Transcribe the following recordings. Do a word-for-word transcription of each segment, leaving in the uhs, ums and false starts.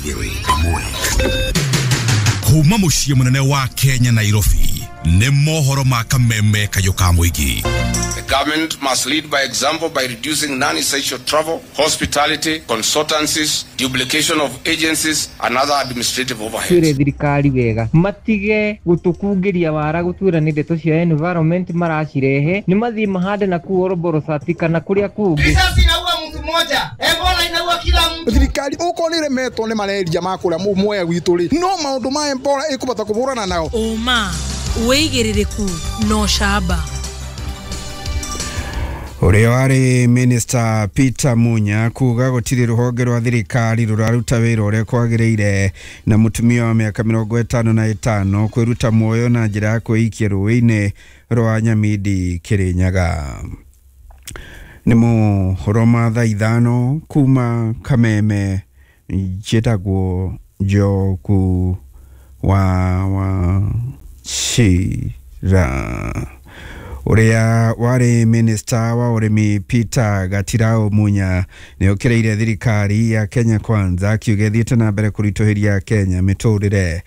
igĩrĩ ĩmwe. Kuma mũciĩ mũnene wa Kenya Nairobi nĩ mohoro ma kameme kayũ ka mũingĩ. The government must lead by example by reducing non-essential travel, hospitality, consultancies, duplication of agencies and other administrative overheads. Twĩre thirikari wega matige gũtũkungĩria wara gũtwĩra nĩ ndeto cia environment maracirehe, nĩ mathiĩ mahande na kũu Oroborosati kana kũrĩa kũngĩ. Risasi inaua mtu mmoja, Ebola inaua kila mtu. Thirikari uko nĩ remetwo nĩ malaria ma kũrĩa mwea gwitũ rĩ, no maũndũ ma Ebola ĩkũbata kũhũrana nao. Ũma wĩigĩrĩrĩku no camba. Ũrĩa warĩ Minister Peter Munya kuga gũtirĩ rũhonge rwa thirikari rũraruta wĩra ũrĩa kwagĩrĩire, na mũtumia wa mĩaka mĩrongo ĩtano na ĩtano kwĩruta muoyo na njĩra ya kwĩikia rũĩ-inĩ rwa Nyamindi Kĩrĩnyaga. Nĩ mohoro ma thaa ithano kuma Kameme, njĩtagwo Njoku wa Wachira. Ũrĩa warĩ Minister wa ũrĩmi Peter Gatirau Munya nĩ okĩrĩire thirikari ya Kenya Kwanza akiuga ĩthiĩte na mbere kũritũhĩria Kenya mĩtũrĩre.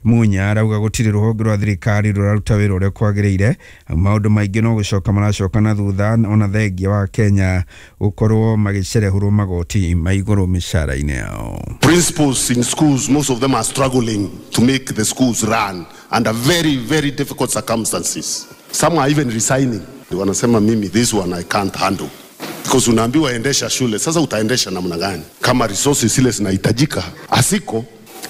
Munya arauga gũtirĩ rũhonge rwa thirikari rũraruta wĩra ũrĩa kwagĩrĩire, maũndũ maingĩ no gũcoka maracoka na thutha ona thengia wa Kenya gũkorwo magĩcerehũrwo magoti ma igũrũ mĩcara-inĩ yao. Principals in schools, most of them are struggling to make the schools run under very, very difficult circumstances. Some are even resigning. Wanasema mimi this one I can't handle. Because unaambiwa endesha shule, sasa utaendesha namna gani? Kama resources zile zinahitajika, asiko.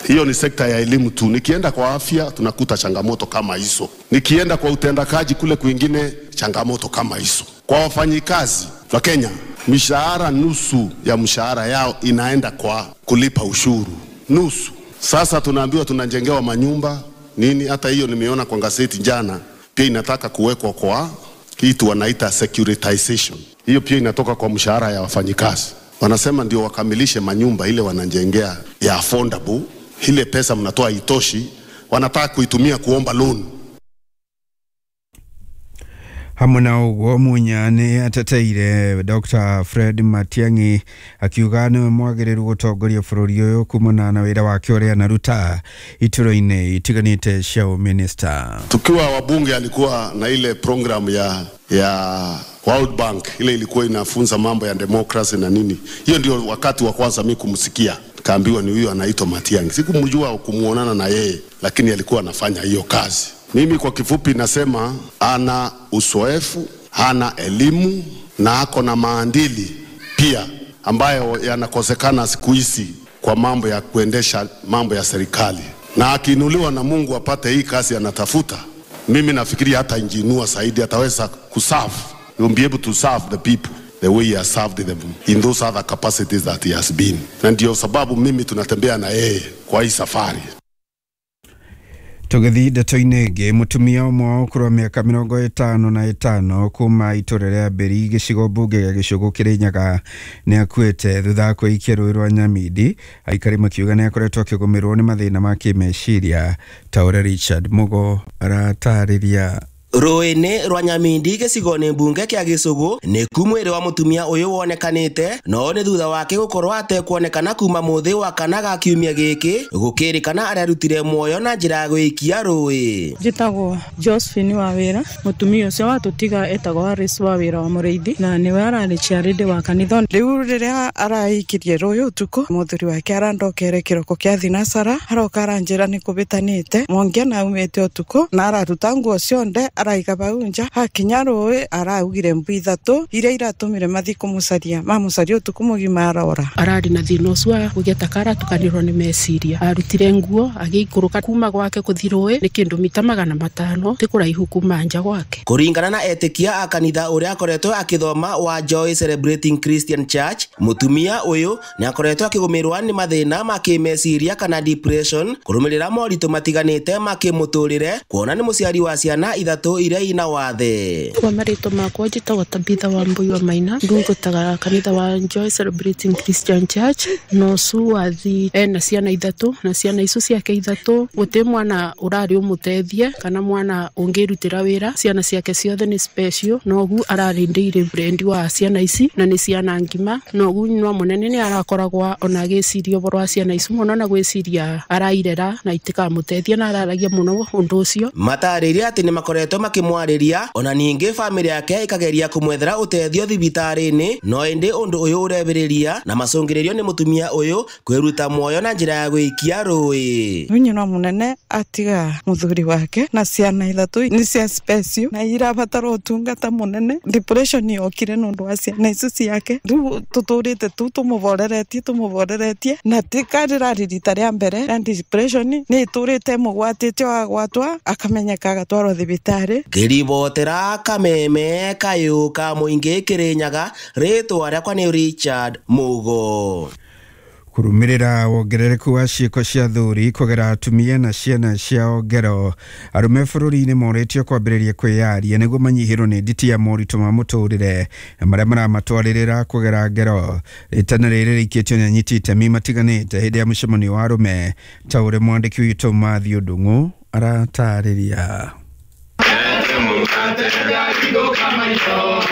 Hiyo ni sekta ya elimu tu. Nikienda kwa afya tunakuta changamoto kama hizo. Nikienda kwa utendakaji kule kwingine changamoto kama hizo. Kwa wafanyikazi wa Kenya, mishahara nusu ya mshahara yao inaenda kwa kulipa ushuru. Nusu. Sasa tunaambiwa tunajengewa manyumba nini, hata hiyo nimeona kwa gazeti jana. Pia inataka kuwekwa kwa kitu wanaita securitization. Hiyo pia inatoka kwa mshahara ya wafanyikazi. Wanasema ndio wakamilishe manyumba ile wanajengea ya affordable, ile pesa mnatoa itoshi, wanataka kuitumia kuomba loan. Hamwe na ũguo Munya nĩ ateteire Doctor Fred Matiang'i akiuga nĩwe mwagĩrĩru gũtongoria bũrũri ũyũ kumana na wĩra wake ũrĩa anaruta ituro-inĩ itiganĩte cia ũminista. Tukiwa wabunge alikuwa na ile program ya, ya World Bank, ile ilikuwa inafunza mambo ya democracy na nini. Hiyo ndio wakati wa kwanza mimi kumsikia. Kaambiwa ni huyo anaitwa Matiang'i. Sikumjua kumuonana na yeye, lakini alikuwa anafanya hiyo kazi. Mimi kwa kifupi nasema ana uzoefu, ana elimu na ako na maadili pia ambayo yanakosekana siku hizi kwa mambo ya kuendesha mambo ya serikali. Na akiinuliwa na Mungu apate hii kazi anatafuta, mimi nafikiri hata injiinua zaidi ataweza kuserve. He will be able to serve the people the way he has served them in those other capacities that he has been. Na ndio sababu mimi tunatembea na yeye kwa hii safari. Tũgĩthiĩ ndeto-inĩ ĩngĩ, mũtumia ũmwe wa ũkũrũ wa mĩaka mĩrongo ĩtano na ĩtano kuma itũra rĩa Mbĩri gĩcigo mbunge gĩa Gĩcũgũ Kĩrĩnyaga nĩ akuĩte thutha wa kwĩikia rũĩ rwa Nyamindi. Aikari makiuga nĩ akoretwo akĩgũmĩrwo nĩ mathĩna ma kĩmeciria ta ũrĩa Richard Mugo aratarĩria. Rũĩ-inĩ rwa Nyamindi gĩcigo-inĩ mbunge kĩa Gĩcũgũ nĩ ku mwĩrĩ wa mũtumia ũyũ wonekanĩte, no nĩ thutha wake gũkorwo atekuonekana kuma mũthĩ wa kana ga kiumia gĩkĩ gũkĩrĩkana ararutire muoyo na njĩra ya gwĩikia rũĩ. Njĩtagwo Josephine wa wĩra, mũtumia ũcio watũtiga etagwo Harris wa wĩra wa mũrĩithi na nĩwe ararĩ chairlady wa kanitha. Rĩu rĩrĩa araikirie rũĩ ũtukũ, mũthuri wake arandokere kĩroko kĩa thinacara, aroka aranjĩra nĩ kũbĩtanĩte Mwangi na aumĩte ũtukũ na araruta nguo cionde araiga baunja hakinya rũĩ araugire mbu ithatũ iria iratumire mathi kũmũcaria mamũcaria ũtukũ mũgima arora. Ararĩ na thĩna ũcio wa kũgĩa ta karatukanĩrwo nĩ meciria, arutire nguo agĩikũrũka kuma gwake kũthi rũĩ nĩ kĩndũ mita magana matano ti kũraihu kuma nja gwake. Kũringana na etĩkia a kanitha ũrĩa akoretwo akĩthoma wa Joy Celebrating Christian Church, mũtumia ũyũ nĩ akoretwo akĩgũmĩrwo nĩ mathĩna ma kĩmeciria kana depression kũrũmĩrĩra moritũ matiganĩte ma kĩmũtũrĩre, kuona nĩ mũciari wa ciana ithatũ ithatũ iria ina wathe. Kwa marĩtwa makwa njĩtagwo Tabitha Wambui wa Maina, ndungataga kanitha wa Joy Celebrating Christian Church. Nosu wathi ena ciana ithatũ na ciana icio ciake ithatũ gũtirĩ mwana ũrarĩ ũmũteithie kana mwana ũngĩrutĩra wĩra. Ciana ciake ciothe nĩ special nogu ararĩndĩire brendi wa ciana ici na nĩ ciana ngima nogu nyina mũnene nĩ arakoragwo ona agĩciria ũhoro wa ciana ici mũno na gwĩciria arairera na itikamũteithia na araragia mũno ũndũ ũcio. Matarĩria atĩ nĩ makoretwo makĩmwarĩria ona ningĩ bamĩrĩ yake ĩkageria kũmwethera ũteithio thibitarĩ-inĩ no ĩndĩ ũndũ ũyũ ũrebĩrĩria na macũngĩrĩrio nĩ mũtumia ũyũ kwĩruta muoyo na njĩra ya gwĩikia rũĩ. Nyina mũnene atiga mũthuri wake na ciana ithatũ nĩ cia special na irabatara ũtungata mũnene. Depression yokire nĩ ũndũ wa ciana icio ciake. Rĩu tũtũrĩte tu tũmũboreretie tũmũboreretie na tikarĩrarĩ rita rĩa mbere na depression nĩ ĩtũrĩte mũgwatĩte agwatwa akamenyeka agatwarwo thibitarĩ. Ngĩribotera Kameme kayũ ka mũingĩ Kĩrĩnyaga, rĩtwa rĩakwa nĩ Richard Mugo. Kurumirira wongerereku wa ciĩko cia thuri kũgera atumia na ciana ciao ngero, arũme bũrũri-inĩ morĩtio kwambĩrĩria kwĩyaria nĩguo manyihĩrwo nĩ nditi ya moritũ ma mũtũrĩre na marĩa maramatwarĩrĩra kũgera ngero. Rĩtana rĩrĩ rĩikĩtio nĩ anyiti itemi matiganĩte hĩndĩ ya mũcemanio wa arũme ta ũrĩa mwandĩki witũ Matthew Ndung'u aratarĩria.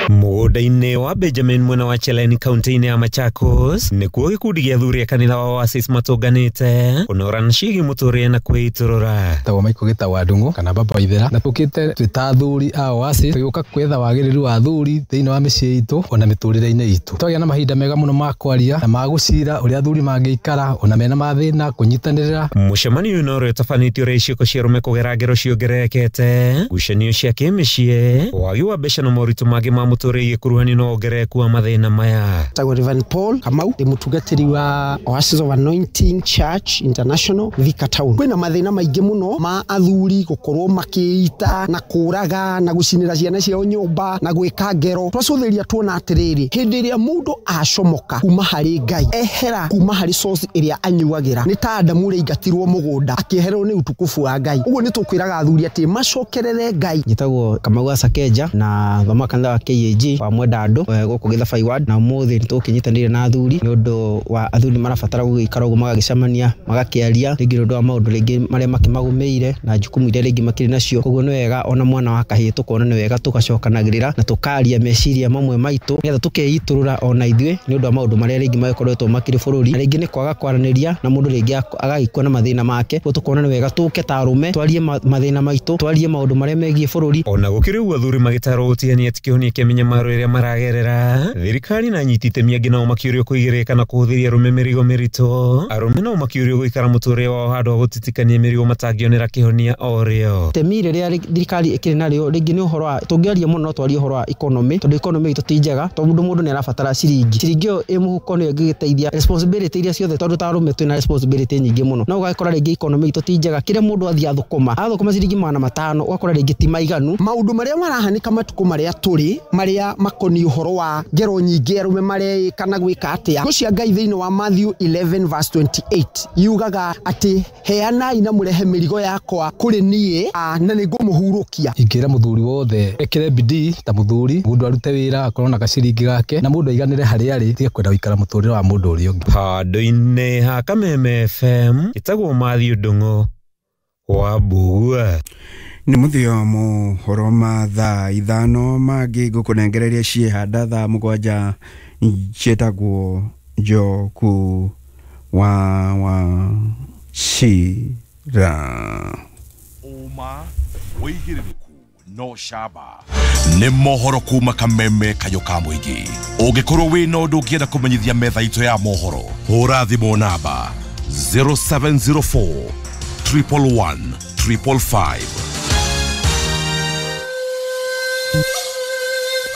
Mũgũnda-inĩ wa Benjamin mwena wa Cheleni kaunti-inĩ ya Machakos nĩkuo gĩkundi gĩa athuri a kanitha wa Oasis matũnganĩte kũnorana ciĩgiĩ mũtũrĩre na kwĩitũrũra. Tagwo Michael Gĩtawa Ndung'u kana Baba Ithera, na tũkĩte twĩ ta athuri a Oasis tũgĩũka kwetha wagĩrĩru wa athuri thĩinĩ wa mĩciĩ itũ ona mĩtũrĩre-inĩ itũ. Twagĩa na mahinda mega mũno ma kwaria na ma gũcira ũrĩa athuri mangĩikara ona mena mathĩna kũnyitanĩrĩra. Mũcemanio ũyũ no ũrĩa ũtabanĩtio ũrĩa ciĩko cia arũme kũgera ngero ciongererekete, ngucanio cia kĩmĩciĩ, wagi wa mbeca na moritũ mangĩ ma mũtũrĩre igĩkuruhanio na wongerereku wa mathĩna maya. Tagwo Reverend Paul Kamau, ndĩ mũtungatĩri wa Oasis of Anointing Church International Thika Town. Kwĩna mathĩna maingĩ mũno ma athuri gũkorwo makĩita na kũraga na gũcinĩra ciana ciao nyũmba na gwĩka ngero. Twacũthĩria tuona atĩrĩrĩ, hĩndĩ ĩrĩa mũndũ acomoka kuma harĩ Ngai, ehera kuma harĩ source ĩrĩa anyuagĩra, nĩ ta Adamu ũrĩa aingatirwo mũgũnda akĩehererwo nĩ utukufu wa Ngai. Ũguo nĩ tũkwĩraga athuri atĩ macokerere Ngai. Njĩtagwo Kamau wa Sakeja na thoma kanitha wa K A G wa Mwendandũ gũkũ Gĩthabai ward, na ũmũthĩ nĩ tũkĩnyitanĩire na athuri nĩ ũndũ wa athuri marabatara gũgĩikara ũguo magagĩcemania magakĩaria rĩngĩ nĩ ũndũ wa maũndũ rĩngĩ marĩa makĩmagũmĩire na jukumu iria rĩngĩ makĩrĩ nacio. Koguo nĩ wega ona mwana wa kahĩĩ tũkona nĩ wega tũgacokanagĩrĩra na tũkaria meciria mamwe maitũ nĩgetha tũkeitũrũra ona ithuĩ nĩ ũndũ wa maũndũ marĩa rĩngĩ magĩkoretwo makĩrĩ bũrũri, na rĩngĩ nĩ kwaga kwaranĩria na mũndũ rĩngĩ agagĩkua na mathĩna make. Koguo tũkona nĩ wega tũke ta arũme twarie mathĩna maitũ, twarie maũndũ marĩa megiĩ bũrũri. Ona gũkĩrĩ ũguo athuri magĩtarwo gũtigania ti kĩhonia kĩa mĩnyamaro ĩrĩa maragerera, thirikari na anyiti itemi angĩ nao makĩũrio kũigĩrĩrĩka na kũhũthĩria arũme mĩrigo mĩritũ. Arũme nao makĩũrio gũikara mũtũrĩre wao handũ ha gũtitikania mĩrigo matangĩonera kĩhonia o rĩo. Itemi rĩrĩa thirikari ĩkĩrĩ narĩo rĩngĩ nĩ ũhoro wa tũngĩaria mũno no twarie ũhoro wa economy, tondũ economy itũ ti njega, tondũ mũndũ nĩ arabatara ciringi, ciringi ĩyo ĩ mũhuko nĩyo ĩngĩgĩteithia responsibility iria ciothe, tondũ ta arũme twĩna responsibility nyingĩ mũno, no ũgakora rĩngĩ economy itũ ti njega, kĩrĩa mũndũ athiĩ athũkũma athũkũma ciringi magana matano ũgakora rĩngĩ ti maiganu. Maũndũ marĩa marahanĩka matukũ marĩa tũrĩ marĩa makoniĩ ũhoro wa ngero nyingĩ arũme mareĩka na gwĩka atĩa, Kiugo cia Ngai thĩinĩ wa Matthew eleven verse twenty-eight yugaga atĩ heanai na mũrehe mĩrigo yakwa kũrĩ niĩ na nĩngũmũhurũkia. Ingĩra mũthuri wothe ekĩre bidii ta mũthuri, mũndũ arute wĩra akorwo na gaciringi gake na mũndũ aiganĩre harĩa arĩ, tige kwenda gũikara mũtũrĩre wa mũndũ ũrĩa ũngĩ. Handũ-inĩ ha Kameme F M ĩtagwo Matthew Ndung'u wa Mbugua. Nĩ mũthia mohoro ma thaa ithano mangĩ ngũkũnengereria ciĩhanda thaa mũgwanja ciĩtagwo Njoku wa wa Cira. Ũma wĩigĩrĩrĩku no shaba nĩ mohoro kuma Kameme kayũ ka mũingĩ. Ũngĩkorwo wĩna ũndũ ũngĩenda kũmenyithia metha itũ ya mohoro, hũra thimũ namba zero seven zero four triple one triple five.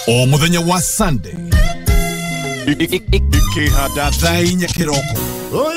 O mũthenya wa Sunday ikĩhanda thaa inya kĩroko.